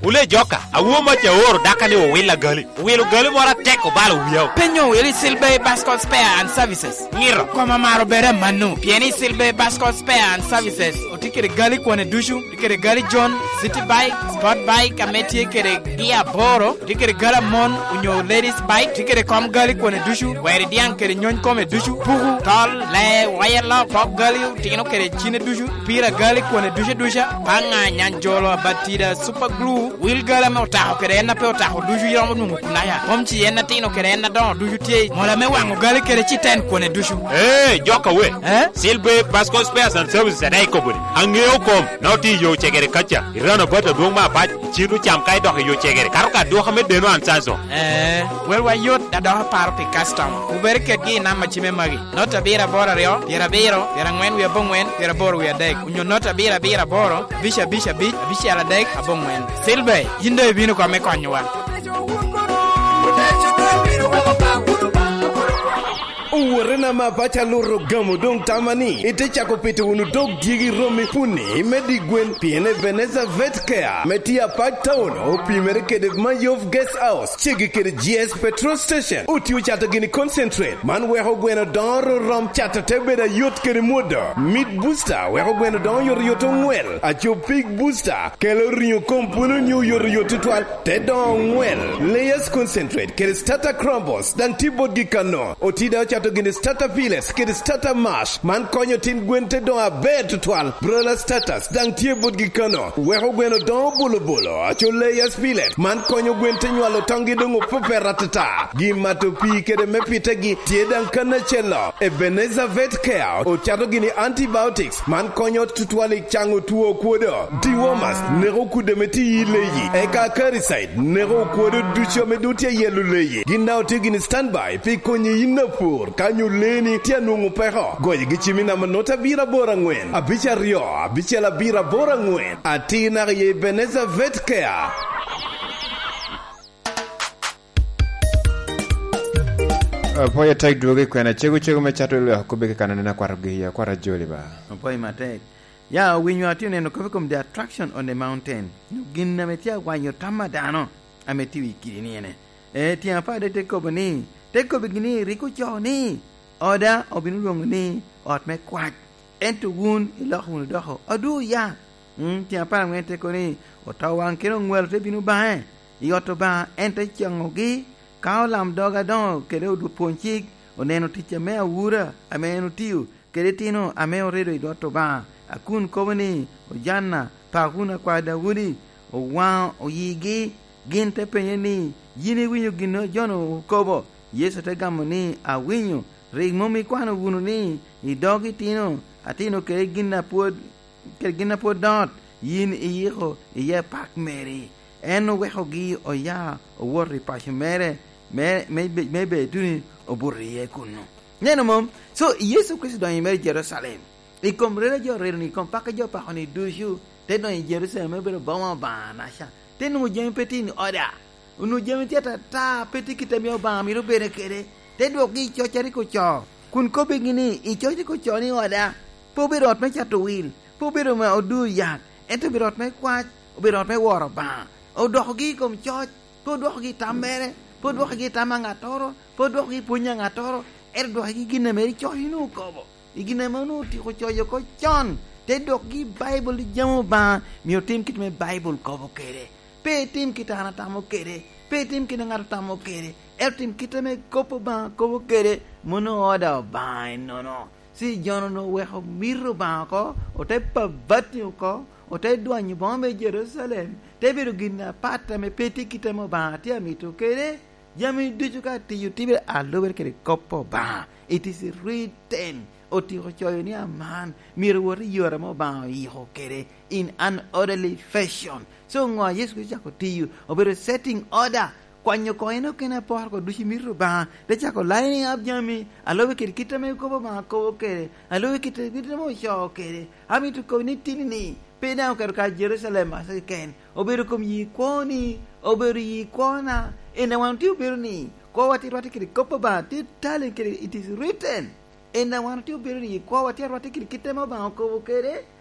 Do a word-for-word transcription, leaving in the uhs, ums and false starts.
Wule joka, awor mac aoro daka ni owil agali. Owilo gali moro atek obalo wia. Penyo owil i Silver Bascot Spare and Services. Ngiro. Koma maro bere manu. Pien i Silver Bascot Spare and Services, otye kede gali kwone ducu, otye kede gali John, City Bike, Sport Bike, ame tye kede gia aboro, otye kede gali amon, onyo ladies bike, otye kede kom gali kwone ducu, weri diaŋ kede nyony kome ducu, puku, tol, lee, waya lok, pok gali, otino kede cine ducu, pira gali kwone ducu duca, paŋa, nyanjolo, abatida, super glue, wil gali ame otako kede en a pe otako ducu iromo nwoŋo kunaya. Kom ci en atino kede en adoŋo ducu tye i mola me waŋo gali kede citen kwone ducu. Ee, joka we. Eh? Silver Passport Spares and Services ade ikobo ni, aŋeo kom, na otye i yo cegere kaca, i rano bat adwoŋ me apac, icit ocam ka idok i yo cegere, kato ka dwoka me deno an canso. Eh, welwa yot, da dok aparo pi customer. Wubere kedgi i namba cime magi. Nota abiro aboro aryo, pyerabiro, pyeraŋwen wie aboŋwen, pyeraboro wie adek, onyo nota abiro abiro aboro, abic abic abic, abicel adek, aboŋwen. Silver, yin doŋ ibino kome konyowa. Owotena ma paco aluto gamo doŋ tama ni ite cako pito wunu dog dyegi romi puni me di gwen, pien Ebenezer Vet Care me tye Apac Town opimere kede Mayov Guest House, ceggi kede G S Petrol Station. Otye ocato gini concentrate, man weko gweno doŋo ororom, cato te bedo ayot kede mwodo. Meat Booster weko gweno doŋo yotoyot oŋwel. Aco Pig Booster kelo riŋo kom pwolo nyo yotoyot tutwal, te doŋo oŋwel. Layers Concentrate kede Starter Crumbles daŋ tye botgi kano. Otye daŋ ocato gini Starter Pellets kede Starter Mash, man konyo tin gwen te doŋo aber tutwal. Broiler Starters daŋ tye botgi kano, weko gweno doŋo bolobolo. Aco Layers Pellet, man konyo gwen te nywalo toŋgi doŋ opepet atata. Gin mato pii kede me pitegi tye daŋ kan acel-lo. Ebenezer Vet Care ocato gini antibiotics, man konyo tutwal i caŋo two kwodo. Dewormers neko kudde ame tye i leyi, eka Acaricide neko kwodo ducu ame doŋ tye ayelo leyi. Gin daŋ otye gini standby pi konyi yin apur ka nyo leeni tye anwoŋo peko. Goyogi cim i namba nota abiro aboro aŋwen, abic aryo, abicel abiro aboro aŋwen. Atir naka i Ebenezer Vet Care. Apwoyo atek dwogo i kwena, cego cego me cato lwak kobbe kekana neno akwatogi, akwat ajoli ba. Apwoyo matek. Ya, owinyo atye oneno kop i kom The Attraction on the Mountain. Nyo gin ame tye awanyo tam a dano ame tye i kidi ni ene. E, tyen apar adek te kobo ni, te kobo gini, rik ocoo ni, "Oda obino lwoŋo ni ot me kwac." Ento wun iloko wunu doko, "Adwo ya." Mm, tyen apar aŋwen te kobo ni, "Oto waŋ kede oŋwalo te bino baŋe i ot Obaŋa, en te caŋogi ka olamdog adoŋo kede odwo pwony cik oneno tic ame awura ame en otio kede itino ame oredo i dwot Obaŋa, a kun kobo ni, 'Ojanna, pak wunu akwa Daudi.'" Owaŋo oyigi, gin te penye ni, "Yin iwinyo gin a jo-nu okobo?" Yecu te gamo ni, "Awinyo. Rik mom ikwano wunu ni i dog itino atino kede gin a pwod, kede gin a pwod dot, yin iyiko iye pak meri?" En owekogi oya owoto i paco mere, me, me, me Beituni obuto iye kunnu. Neno mom? So, Yecu Kricito donyo i mere i Jerucalem. I kom rere jo rero-ni, i kom pakke jo pako-ni ducu, te donyo i Jerucalem, me bedo boma Obaŋa-naca. Te nwoŋo jami pe tye i oda. Onwoŋo jami tye atata, pe tye kit ame Obaŋa mito bed kede. Te dwokgi i coc a rik ocoo, kun kobbigi ni, "I coc rik ocoo ni oda pe obedo ot me cato wil, pe obedo me odur yat, ento obedo ot me kwac, obedo ot me woro Obaŋa." Odokogi i kom coc, pe odwokogi i tam mere, pe odwokogi i tam a ŋattoro, pe odwokogi i pwony a ŋattoro, ento odwokogi i gin ame rik coc onwoŋo okobo. I gin ame onwoŋo otyeko coc oko con, te dwokgi i Baibul ni jami Obaŋa myero otim kit ame Baibul kobo kede. Pe itim kit a an atamo kede, pe itim kit a ŋat otamo kede, ento tim kit ame kop Obaŋa kobo kede, mano oda Obaŋa ennono. Ci jo-nu onwoŋo oweko mito Obaŋa oko, ote pabati oko, ote dwanyo boma me Jerucalem, te bedo gin apat ame pe tye kit ame Obaŋa tye amito kede. Jami ducu ka tiyo tibere alubere kede kop Obaŋa. It is written. Otyeko coyo ni aman myero wot i yore ame Obaŋa oyiko kede in an orderly fashion. So ŋo a Yecu Kricito ocako tiyo? Obedo setting order, kwanyo koŋ en okene aporo ko ducu i mito Obaŋa, te cako lining up jami, alube kede kit ame kop Obaŋa kobo kede, alube kede kit ame ocoo kede. Amito kobo ni tini-ni, pe daŋ oketo kare Jerucalem aco keken, obedo kom yi kwoni, obedo yi kwona. En a wan otye obedo ni, kwowa tye rwatte kede kop Obaŋa, tye tali kede, it is written. En a wan otye obedo ni, kwowa tye arwatte kede kit ame Obaŋa okobo kede,